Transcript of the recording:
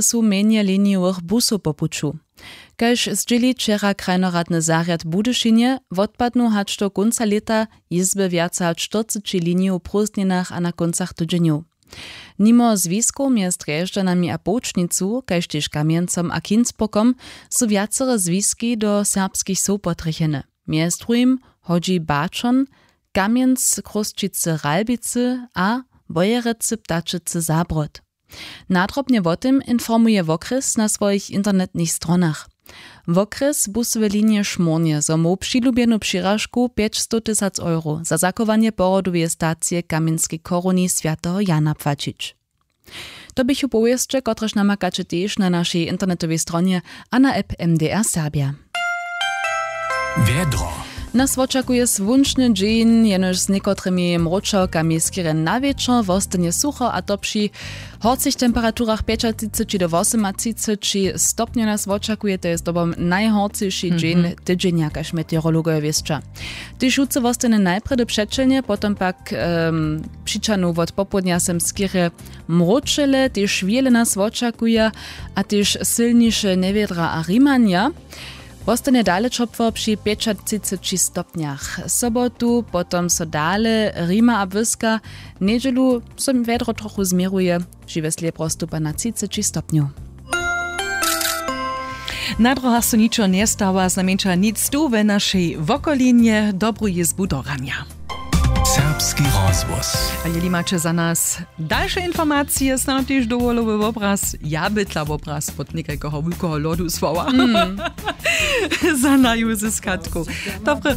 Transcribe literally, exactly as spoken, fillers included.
su mjenje linijowych busow po puću. Kaž zdźěli wčera krajnoradny zarjad w Budyšinje, wotpadnu hač do kónca lěta jězby wjace hač štyrceći linijow w prózdninach a na kóncach tydźenjow. Nimo zwiskow mjez Drježdźanami a Połčnicu, kaž tež Kamjencom a Kinsburgom, su wjacore zwiski do serbskich wsow potrjechene. Mjez druhim hodźi Baćon, Kamjenc, Chrósćicy, Ralbicy a Wojerecy, Ptačecy, Zabród. Nadrobnje wo tym informuje wokrjes na swojich internetnych stronach. Wokrjes busowe linije šmórnje, zo móhł přilubjenu přiražku pjećstow tysac euro za zachowanje pohrodoweje stacije kamjenskej choruni swjateho Jana płaćić. To běchu powěsće, kotrež namakaće tež na našej internetowej stronje a na app M D R Serbja. Wjedro. Nas wočakuje słónčny dźeń, jenož z někotrymi mróčałkami skerje na wječor wostanje sucho, a to při horcych temperaturach pjećatřiceći do wosomatřiceći stopnjow. Nas wočakuje, to je zdobom najhorcyši dźeń tydźenja, kaž meteorologojo wěsća. Tež jutře wostanje najprjedy přećelnje, potom pak um, přičanu wot popołdnja sem skerje mróčele, tež wjele nas wočakuja, a tež sylniše njewjedra a rimanja. Wostanje dale ćopło při pjećatřiceći stopnjach. Sobotu potom so dale rima a błyska. Njedźelu so wjedro trochu změruje, žiwjesle prostupa na třiceći stopnjow. Na dróhach so ničo njestawa, znajmjeńša nic tu we našej wokolinje. Dobru jězbu do ranja. Serbski rozhłos. A jeli maće za nas dalše informacije, snano tež dowolowy wobraz, ja bytla wobraz pod někajkeho wulkeho lodu słowa, za naju z skatku. Dobre,